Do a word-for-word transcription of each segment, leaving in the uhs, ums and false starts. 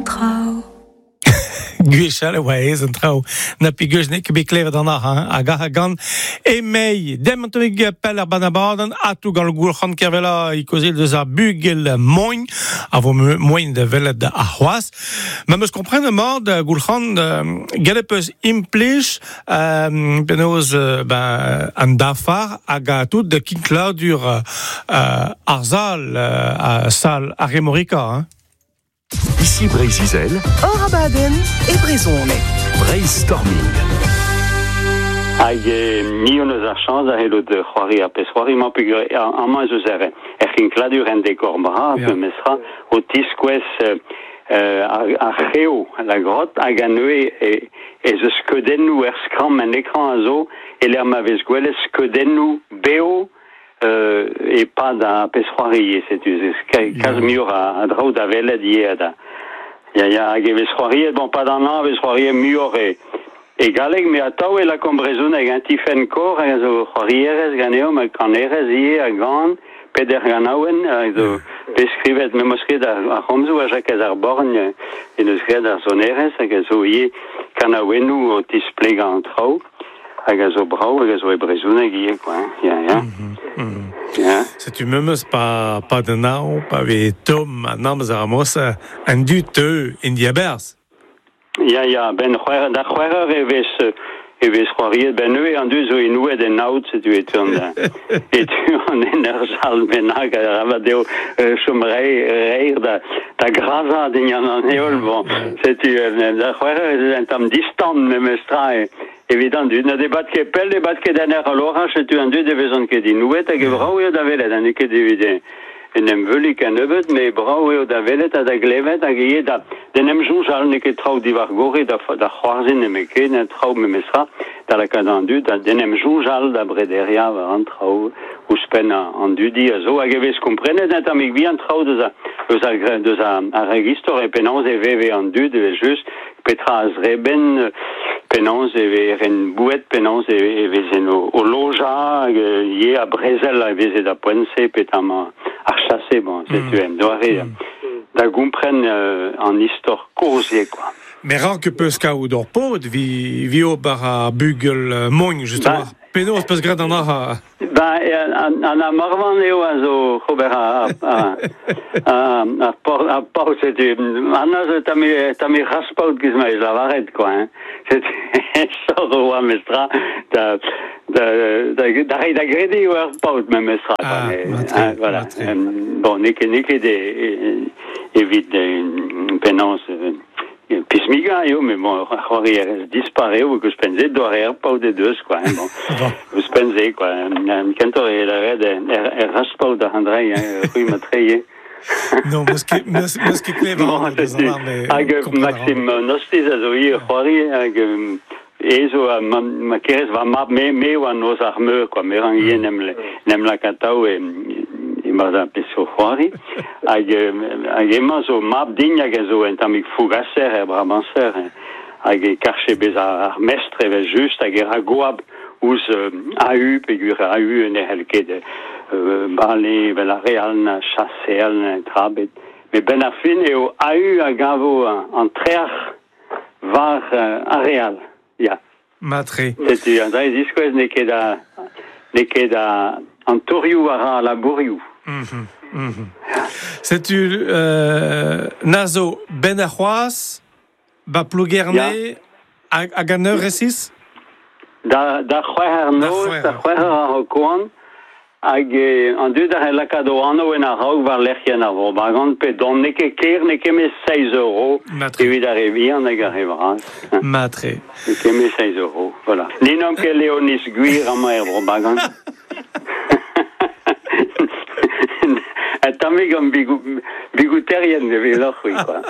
traoù. Gwechall e oa aes an traoù. Na peogwir n'eo ket bet klevet an arc'h, hein, hag ar gant emei. Dem an tammig pell ar banabadenn, atou gant Goulc'han Kervella e kaozeal deus ar bugel mogn, a vo moaien da welet ar c'hoazh. Ma 'm eus komprenet mat, Goulc'han, gellet peus implij euh, penaos ben, an dafar hag a tout de kinkladur euh, ar sal, euh, sal ar Aremorica, hein. Ici Breizh-Izel, Hor abadenn e brezhoneg. Breizhstorming. Hag eh, ni hon eus ar chañs da c'hellout c'hoari ar pezh c'hoari-mañ peogwir amañ ez eus er, er c'hinkladur en dekor bras, Ya. memestra, o tiskouez euh, ar, ar c'heo, la grotte, hag an neue e, ez eus skeudennoù er skramm en ekran a zo, e lec'h ma vez gwelet skeudennoù beo euh, e pad ar pezh c'hoari, setu, kalz muioc'h a, a draoù da welet ivez da. Ya, ya, hag e vez c'hoariet, bon, pad an hañv e vez c'hoariet muioc'h e, e galleg, met atav e lakaomp brezhoneg, hein, Tifenn Kor, hag a zo c'hoarierez ganeomp, hag kanerez ivez, a gan, peder ganaouenn, hag zo bet skrivet, me 'm eus skrivet ar, ar c'homzoù ha Jakez ar Borgn en deus graet ar sonerezh, hag a zo ivez kanaouennoù o tisplegañ an traoù, hag a zo brav, hag a zo e brezhoneg ivez, quoi, hein, ya, ya. Ya. Setu memes pa, pa den hañv, pa vez tomm an amzer ar mos, an dud teu en diabarzh. Ya, ya, ben c'hwec'h, da c'hwec'h eur e vez, e vez c'hoariet, ben neuze an dud zo inouet en aod, setu e teuont da, e teuont en ur sal bennak, arabat eo euh, chom rei, reir da, da grazañ dindan an heol, bon, setu, euh, da c'hwec'h eur ez eus un tamm distan memestra, e, evit an dud. Na ne bad ket pell, ne bad ket en ur aloraj, setu an dud e vezont ket inouet, hag e brav eo da welet, ha n'eo ket evit en em veuliñ kennebeut, met brav eo da welet ha da glevet hag ivez da d'en em soñjal, n'eo ket traoù diwar-gorre da, da c'hoarzhin nemetken, un traoù memestra, da lakaat an dud, da d'en em soñjal da brederiañ war an traoù ouzhpenn an dudi a zo, hag e vez komprenet un tammig bihan traoù deus a, deus ar, deus ar, ar ragistor e penaos e veve an dud, evel just, petra a zrebrent, penaos e vezent boued, penaos e, e vezent o, o lojañ, hag ivez a brezel a veze da poent-se, petamant ar chase, bon, setu mm. en doare mm. da gompren euh, an istor kozh quoi. Mais rank peus kaout ur paotr vi, vi ober ar bugel mogn, justement. Ba, Penaos peus graet an arc'h? Ba, an, an a Morvan eo a zo ober a, a, a, a, a, a paotr, setu, an a zo tamm tamm raspaot giz ma ez lavaret, quoi, hein. Setu, sor oa mestra, da, da, da, da reiñ da grediñ eo ur paotr memestra, quoi. Ah, Mais, matre, hein, voilà. matre. Um, bon, n'eo ket, n'eo ket e, e, evit e, penaos e, pismigañ eo, met bon, ar c'hoarierez dispar eo, hag ouzhpenn-se doare ar paotr e deus, quoi, hein, bon. Bon. Ouzhpenn-se, quoi. Um, kentoc'h e lavaret er, er raspaot da Andrei, hein, c'hwi matre ivez. Non, meus ket, meus, meus ket klevet Bon, an deus an ar, mais Hag euh, kompren a ran. Maxime Nostis a zo ivez c'hoari, hag um, e zo a ma, ma kerez va mab me, me oa noz ar meur, quoi, me ran ivez n'em, n'em lakatao e, e mar da pezh o c'hoari. Hag, hag emañ zo mab din hag a zo un tammig fougaser er brabanser, hein. Hag e karche bezañ ar mestr evel just, hag e ra goap ouzh euh, Ahu, peogwir Ahu ne c'hell ket euh, bale evel ar re all na chaseal na tra ebet. Met benn ar fin eo Ahu a gavo an, an trec'h war euh, ar re all. Ya. Matre. Setu an dra diskouez n'eo ket a, n'eo ket a, an torioù a ra a labourioù. Mhm, mhm. Setu euh, nazo ben ar c'hoazh, ba Plougerne, Ya. hag, hag an eur resis? Da, da c'hwec'h eur Da noz, c'hwec'h da eur. c'hwec'h eur ar koan, hag eh, an dud a c'hell lakaat o anv en a-raok war lec'hienn ar Vro-Bagan, pe dont n'eo ket ker, n'eo ket met seizh euro Matre. evit ar re vihan hag ar re vras. Matre. N'eo ket met seizh euro, voilà. Ni n'omp ket Leoniz gwir amañ er Vro-Bagan. Un tammig an bigou, bigouterien e loc'h, c'hwi, quoi.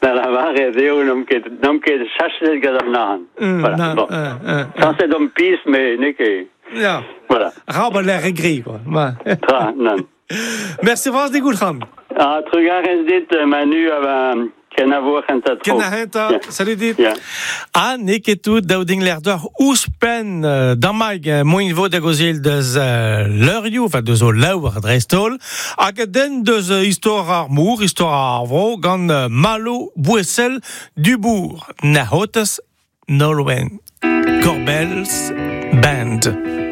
Da lavaret eo n'omp ket, n'omp ket chachet gant an arc'hant. Mm, Voilà, na, bon. euh, euh, Sañset omp pizh, met n'eo ket... Ya. Voilà. Ra ba l'air gris, quoi. Ouais. Tra, nann. Merci vras dit Goulc'han. Ah, trugarez dit, Manu, a va Kenavo ar c'hentañ tro. Ken ar c'hentañ, Ya. salut dit. Ya. Ha n'eo ket tout daou ding l'air d'or ouzhpenn euh, dammaig euh, moin vo da gozil deus euh, leurioù, enfin deus o laour dreist-holl, hag a den deus euh, istor ar mour, istor ar vro, gant euh, Malo Bouessel Dubourg, Nahotez Nolwenn, Corbels Band.